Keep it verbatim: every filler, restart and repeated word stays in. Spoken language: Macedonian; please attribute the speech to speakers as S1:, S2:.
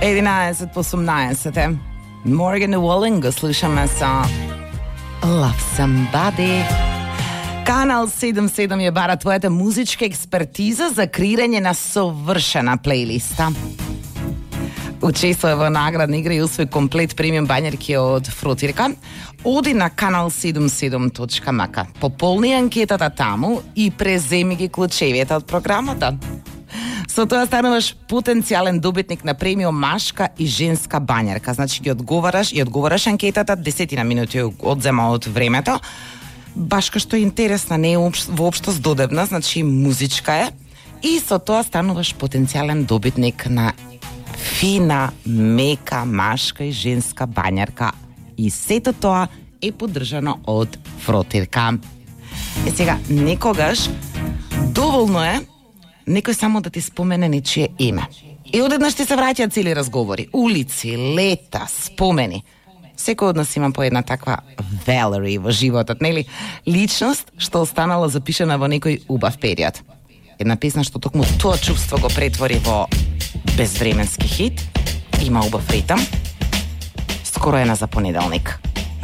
S1: единаесет по осумнаесет е. Morgan Wallen го слушаме со Love Somebody. Канал седум седум ја бара твојата музичка експертиза за креирање на совршена плейлиста. Учествува во наградна игра и усвои комплет премиум бањерки од Фрутирка. Оди на канал седум седум точка ем ка. Пополни анкетата таму и преземи ги клучевите од програмата. Со тоа стануваш потенцијален добитник на премиум машка и женска бањерка. Значи ги одговараш и одговараш анкетата, десетина минути одзема од времето. Башка што е интересна, не е воопшто здодебна, значи музичка е. И со тоа стануваш потенцијален добитник на фина, мека, машка и женска бањерка. И сето тоа е поддржано од Фрутирка. Е сега, некогаш доволно е некој само да ти спомене нечие име. И одеднаш ти се враќаат цели разговори, улици, лета, спомени. Секој од нас има по една таква Валери во животот, нели? Личност што останала запишана во некој убав период. Една песна што токму тоа чувство го претвори во безвременски хит, има убав ритам. Скоро е на за понеделник.